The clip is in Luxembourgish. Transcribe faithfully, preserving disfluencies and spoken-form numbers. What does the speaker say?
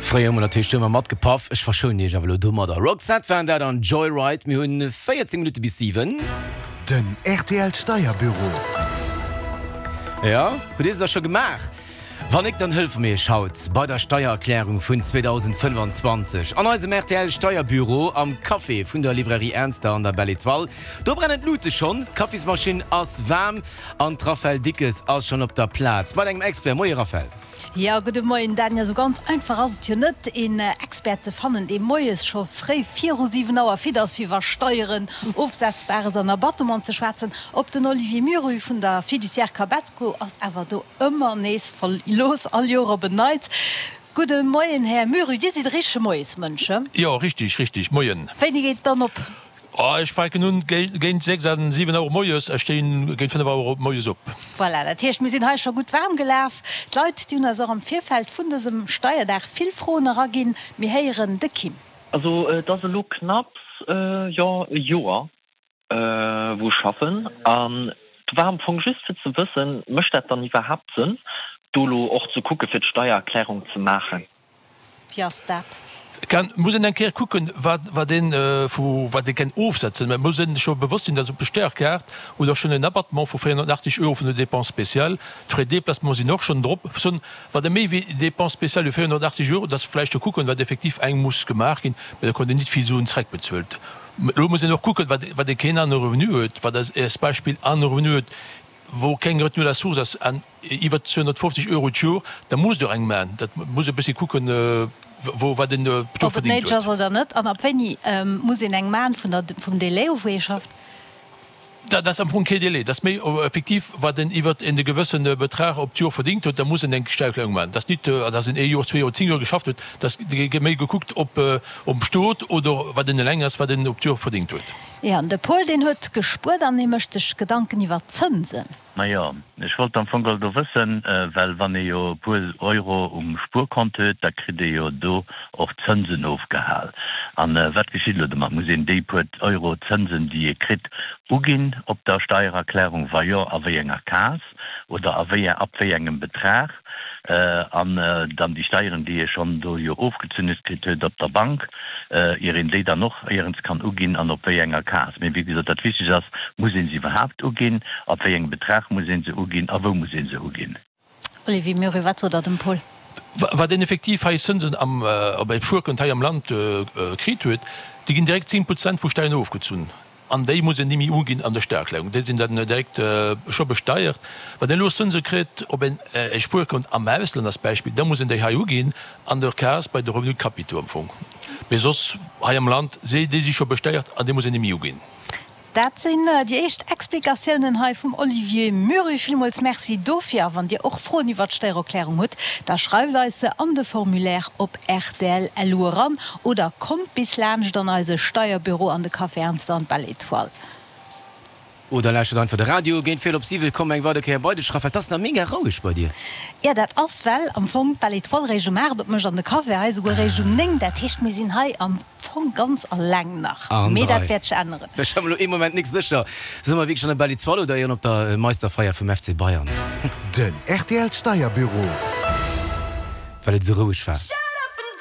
Fréier hu mer natierlech do ëmmer matgepaff. Ech verschounen iech awer elo domadder. Roxette waren dat an Joyride. Mir hunn véierzéng Minutte bis siwen. Den rtl Steierbüro. Jo, hutt dir se da scho gemaach? Wann nik, dann hëlfe mir iech haut bei der Steiererklärung vun zweedausendfënnfanzwanzeg an eisem rtl Steierbüro am Café vun der Librairie Ernster an der Belle Etoile. Do brennen d'Lute schonn, d'Kaffismaschinn ass waarm an d'Raphaëlle Dickes ass schonn op der Plaz mat engem Expert. Moie Raphaëlle. Jo, gudde Moien Dan. Jo, sou ganz einfach ass et jo net, een Expert ze fannen, dee moies scho fréi viru siwen Auer fit ass, fir iwwer Steieren, Ofsetzbares an Abattement ze schwätzen. Op den Olivier Murru vun der Fiduciaire Cabesco ass awer do ëmmer nees verlooss, all Joer op en Neits. Gudde Moien, Här Murru, Dir sidd e richtege Moiesmënsch, he? Jo, richtig, richtig. Moien. Wéini geet et dann op? Ech fänken un géint sechs an siwen Auer moies, ech stinn géint fënnef Auer moies op. Voilà, dat heescht, mir sinn hei scho gutt waarm gelaf. D'Leit, déi hunn eis och am Virfeld vun dësem Steierdag vill Froen eraginn. Mir héieren de Kim. Also et ass elo knapps, jo, e Joer, wou ech schaffen an et war am Fong just fir ze wëssen, mécht dat dann iwwerhaapt Sënn, do elo och ze kucke fir d'Steiererklärung ze maachen? Wéi ass dat? Kann, muss een eng Kéier kucken, wat, wat een vu, wat ee kenn ofsetzen. Mä et muss een scho bewosst sinn, dass op der Steierkaart hutt Der schonn en Abattement vu véierhonnertachtzeg Euro vun de Dépenses spéciales. D'Frais de déplacement sinn och schonn drop. Soen, wat e méi wéi Dépenses spéciales wéi véierhonnertachtzeg Euro, dass vläicht do kucken, wat effektiv eng muss gemaach ginn, mä da konnt een nit vill Suen zreckbezuelt. Elo muss een och kucken, wat, wat ee keen anere Revenu huet, wat als Beispill anere Revenu huet, wou keng Retenue à la source ass an iwwer zweehonnertfofzeg Euro d'Joer, da musst Der eng maachen. Dat muss e bëssi kucken, wou wat een do Ob et verdingt néideg huet. ass oder net an ab wéini muss een eng maachen, vun der, vum Délai u wou ee schafft? Dat ass am Fong kee Délai. Dat ass méi effektiv, wat een iwwer een gewëssene Betrag op d'Joer verdingt huet, da muss een eng Steiererklärung maachen. Dat ass nit, dass een ee Joer, zwee Joer, zéng Joer geschafft huet. Dat gëtt méi gekuckt, ob um Stot oder wat een eleng ass, wat een op d'Joer verdingt huet. Jo, an de Paul, deen huet gespuert an hie mécht sech Gedanken iwwer d'Zënsen. Majo, ech wollt am Fong geholl do wëssen, well wann ee jo e puer Euro um Spuerkont huet, da kritt ee jo do och Zënsen ofgehal. An wat geschitt elo domat? Muss een déi puer Euro Zënsen, déi ee kritt, uginn op der Steiererklärung? Wa jo, a wéi enger Case oder a wéi, ab wéi engem Betrag? An dann déi Steieren, déi ee schonn do jo ofgezunn huet kritt huet op der Bank, ier een déi dann och éierens kann uginn an op wéi enger Case. Mee wéi gesot, dat Wichteg ass, Muss ee se iwwerhaapt uginn? Ab wéi engem Betrag muss ee se uginn a wou muss ee se uginn? Olivier Murray, Wat sot Der dem Paul? Wat een effektiv hei Zënsen am op e Spuerkont hei am Land kritt huet, déi ginn direkt zéng Prozent vu Steieren ofgezunn. An déi muss een ni méi uginn an der Steiererklärung. Déi sinn dann direkt scho besteiert. Wann een elo Zënse kritt op en Spuerkont am Ausland als Beispill, da muss een déi hei uginn an der Case bei de Revenus capitaux am Fong. Mee soss hei am Land, déi si scho besteiert an déi muss een ni méi uginn. Dat sinn déi éischt Explikatiounen hei vum Olivier Murru. Villmools Merci dofir. A wann Dir och Froen iwwert d'Steiererklärung hutt, da schreift eis se an de Formulaire op rtl lu eran oder kommt bis laanscht an eise Steierbüro an de Café Ernster an d'Belle Etoile. Oder lauschtert einfach de Radio. Géint véierel op siwe komm eng weider Kéier bei dech, Raphaëlle. 't ass nach mega roueg bei dir. Jo, dat ass, well am Fong d'Belle Etoile réischt um aacht opmécht an de Café hei esouguer réischt um néng. Dat heescht, mir sinn hei am Fong ganz alleng nach. An Mee dat dräi. wäert sech änneren. Ech war mer elo ee Moment nik sécher. Si mer wierklech an der Belle Etoile oder éieren op der Meisterfeier vum F C Bayern? Den R T L Steierbüro. Well et esou roueg war.